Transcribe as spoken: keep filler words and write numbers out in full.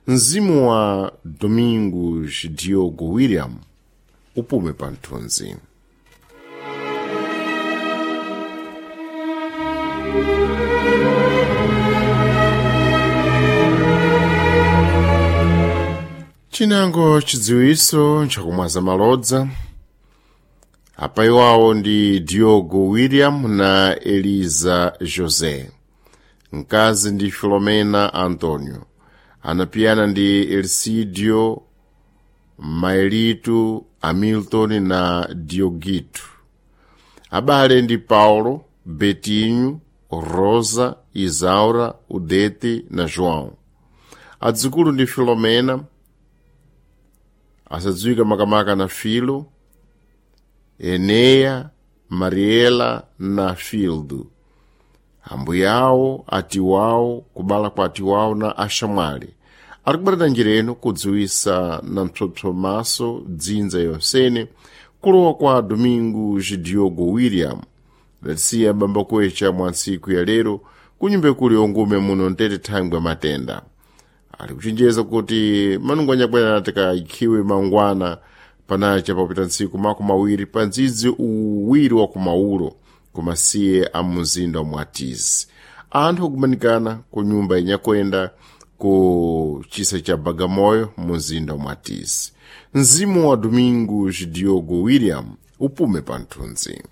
Mzimu wa Domingos Diogo William upume pa mthunzi. Chinango chidziwiso nchakumwaza malodza apa iwawo ndi Diogo William na Eliza José, mkazi ndi Filomena Antonio, anapiyana ndi Elcidio Maelitu Hamilton na Dioguito. Abale ndi Paulo, Betinho, Rosa, Isaura, Udete na João. Adzukulu ndi Filomena, asadziwika makamaka na Filo, Eneya, Mariela na Fildo. Ambuyawo, atiwawo, kubala kwa atiwawo na axamwali. Ari kubatana njira ino kudziwisa na mpsopsomaso dzinza yonsene kulowa kwa Domingos Diogo William latisiya bamba kuecha mwa ntsiku ya lero kunyumba ikulu yongume muno mtete thangwi matenda. Ali kuchenjeza kuti manungu anyakwera tikayikhiwe mangwana panacha papita ntsiku makumi awiri pa ndzidzi uwiri wa kumaulo kumasiye a mumzinda wa Mwatizi. Anthu akumanikana ku nyumba inyakwenda ku chisa cha Bagamoyo mumzinda wa Mwatizi. Mzimu wa Domingos Diogo William upume pa mthunzi.